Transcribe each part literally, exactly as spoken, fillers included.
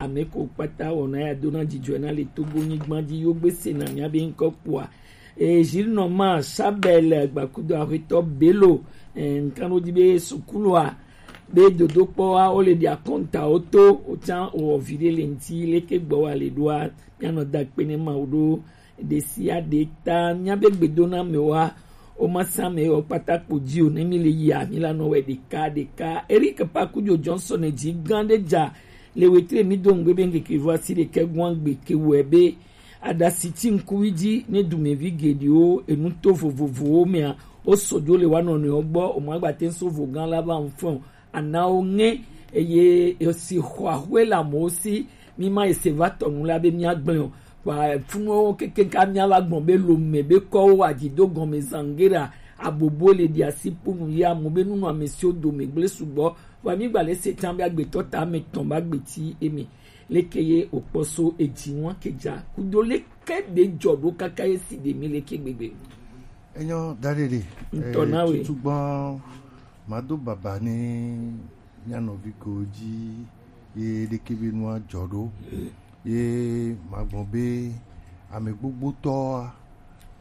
Ame ko kpata wɔna ya dona dzidzɔe na le Togo nyigba dzi yo gbe se na mia be ŋkɔ kpɔa. E, Gilles Norman Chabel gbakudo ahwetɔ Bello, e, nkan ɖo dzi be sukulua be dodokpɔa wo le ɖi akɔntawo to, wotsã wɔ vi ɖe le ŋti, leke gbɔ wa le ɖoa, mianɔ da kpe ne Mawu ɖo ɖe sia ɖe ta. Mia be gbedona me wa, o ma sa me o kpata kpo dzi o, ne mi le yia, mi la nɔ wɛ ɖeka ɖeka. Eric Pakujo Johnson dzi gã ɖe dza le wetre mi do ŋgbe be ŋkeke vɔ asi ɖekɛ gɔn gbe ke wɛ be aɖasi ti ŋkuvi dzi ne dumevi geɖewo enuto vovovowo mea, wo sɔ dzo le wa nɔnɔewo gbɔ, o ma gba te so vo gã la va ŋfɔn. Anawo ŋe, eye esi xɔ axwe le amewo si, mi ma ese va tɔ nu la be mia gblẽ o. Kpa funuwo kekeŋ ka mia va gbɔn be lome be kɔwo adzido gɔme zangera abobo le ɖi asi kponu ye amu be nunu ame siwo dome gblẽ sugbɔ. Wa mi gba le se tã be agbetɔ ta ame tɔn ba gbeti eme. Leke ye okpɔ so edzi ŋua ke dza kudo leke ɖe dzɔ ɖo kaka ye si ɖe mi leke gbegbe. Enyo daɖeɖe. Ŋutɔ na we. Tutugbɔn mado baba ne mia nɔvi ko dzi ye ɖeke be nua dzɔ ɖo. Ye magbɔn be ame gbogbotɔa,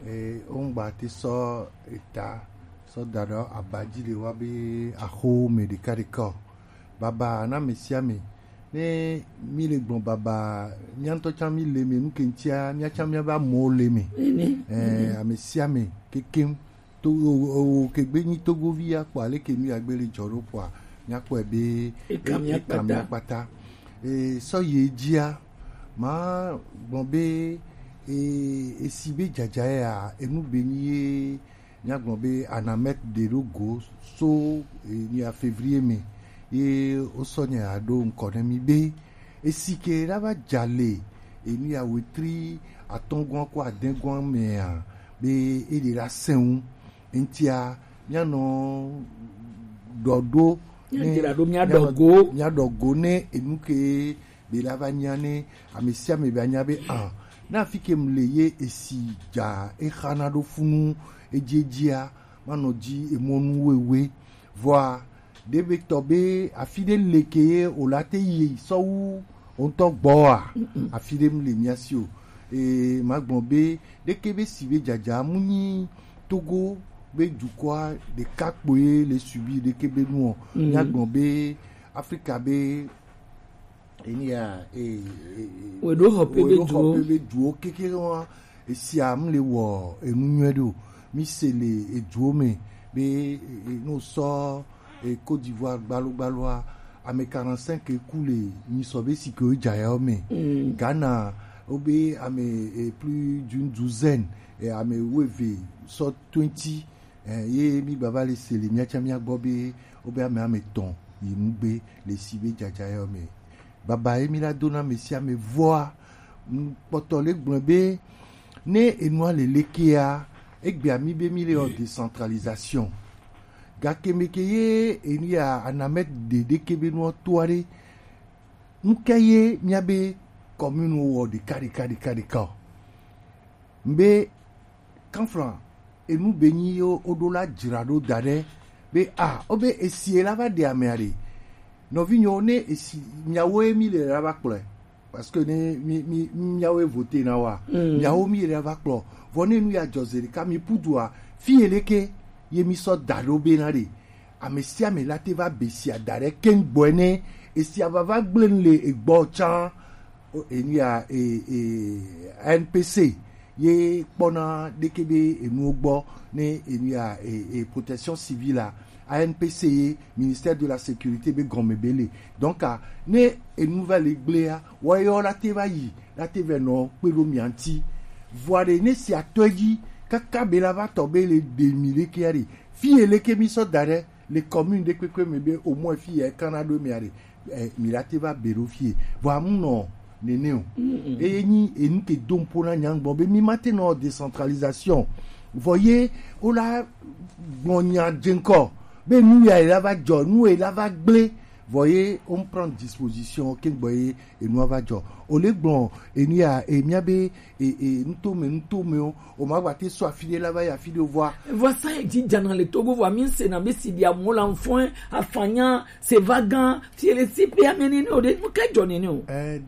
e, wongba te sɔ eta sɔ da ɖe aba dzi le wa be axo me ɖeka ɖeka o. Baba na ame sia ame. Ne mi le gbɔn baba, mia ŋutɔ tsã mi le me, nu ke ŋutia mia tsã mia va mɔ le me. Nene. Eh, ame sia ame kekem. To o, o, o, ke gbe nyi Togovi ya kpɔ ale ke nu ya gbe le dzɔ ɖo kpɔa, mia kpɔe be eka mia kpata. E, sɔ ye dzia, ma gbɔn be, e, esi be dzadza ya, enu be nyi ye, míagblɔ be Anamètre ɖe ɖo go so, eh, nya février me ye wosɔ nya ya ɖo ŋkɔ ne mí be esi ke la va dza le enu ya wetri atɔ̃gɔa ko adɛgɔa mea be eɖe la sɛ̃ ŋu. Eŋutia míanɔ ɖɔ ɖo ne míaɖɔ go míaɖɔ go ne enu ke be la va nya ne ame sia ame be anya be, ah, na afi ke mu le ye esi dza exana ɖo funu edziedzia, manɔ dzi emɔnu wewe. Vɔa, ɖe be tɔ be afi ɖe le ke ye o la te yi sɔ wu o ŋutɔ gbɔa, afi ɖe mu le mia si o. E, ma gbɔn be ɖeke be si be dzadza mu nyi Togo be dukɔa ɖeka kpoe le subi ɖeke be nuɔ. Mia gbɔn be Afrika be eni ya, e, e, e, weɖo xɔ pe be weɖo xɔ duwo. Pe be duwo keke wa, esia mu le wɔ enu nyuie ɖo. Mi se le eduwo me be, e, e, no sɔ, e, Côte d'Ivoire gbalo gbaloa, ame quarante-cinq ku le nyisɔ be si ke wo dza ya wo me. Ghana, wo be ame, e, plus d'une douzaine, e, ame wuieve sɔ twenty. Eh, ye mi gbava le se le mia tsã mia gbɔ be wobe ame ame tɔn yi nugbe le si be dzadza yɔ me. Baba ye mi la do na ame sia ame vɔa, kpɔtɔ le gblɔ be ne enua le lekea, egbea mi be mi le wɔ décentralisation. Gake me ke ye enu ya anamɛ ɖeɖe ke be nua toa ɖe, nu ke ye mia be commune wɔ ɖeka ɖeka ɖeka ɖeka o. Mbe kanflan enu be nyi yo oɖo la dzra ɖo da ɖe be a o be esi la va ɖe amea ɖe nɔvinyewo ne esi miawo ye mi le la va kplɔe, parce que ne mi mi miawo ye vote na wa miawo mi le la va kplɔ vɔ ne nu ya dzɔ ze ɖeka mi pu dua fi ye leke ye mi sɔ da ɖo be na ɖe ame sia ame la te va be sia da ɖe keŋ gbɔe ne esia va va gblẽ nu le egbɔ tsã. O, enu ya, e, e, A N P C ye kpɔna ɖeke be enuwo gbɔ ne enu ya, e, e, protection civile a, A N P C ye ministère de la sécurité be gɔme be le. Donc a ne enu va le gblea, wɔyɔ la te va yi la te vɛ nɔ kpe ɖo mia ŋuti. Vɔa ɖe ne si atɔ dzi kaka be la va tɔ be le ɖe mi ɖekea ɖe fi ye leke mi sɔ da ɖe le commune ɖe kpekpe me be au moins fi ye kana ɖo mia ɖe, eh, mi la te va be ɖo fi ye. Vɔ amu nɔ nene o. Eye nyi enu ke do ŋpo na nya gbɔ be mi ma te nɔ décentralisation. Vɔ ye o la gbɔ nya dzeŋkɔ be nu ya ye la va dzɔ, nu ye la va gblẽ. Vɔ ye o prend disposition ke gbɔ ye enua va dzɔ. O le gblɔ enu ya e mia be e, e, ŋutome, ŋutome o, o ma gba te sɔ afi ɖe la va yi afi ɖe o vɔa. Vɔsa ye dzi dzana le Togo vɔa mi se na be si dia mo la mfɔn afanya se va gan fi le si pe ame nene o ɖe nu ke dzɔ nene o. Eh, da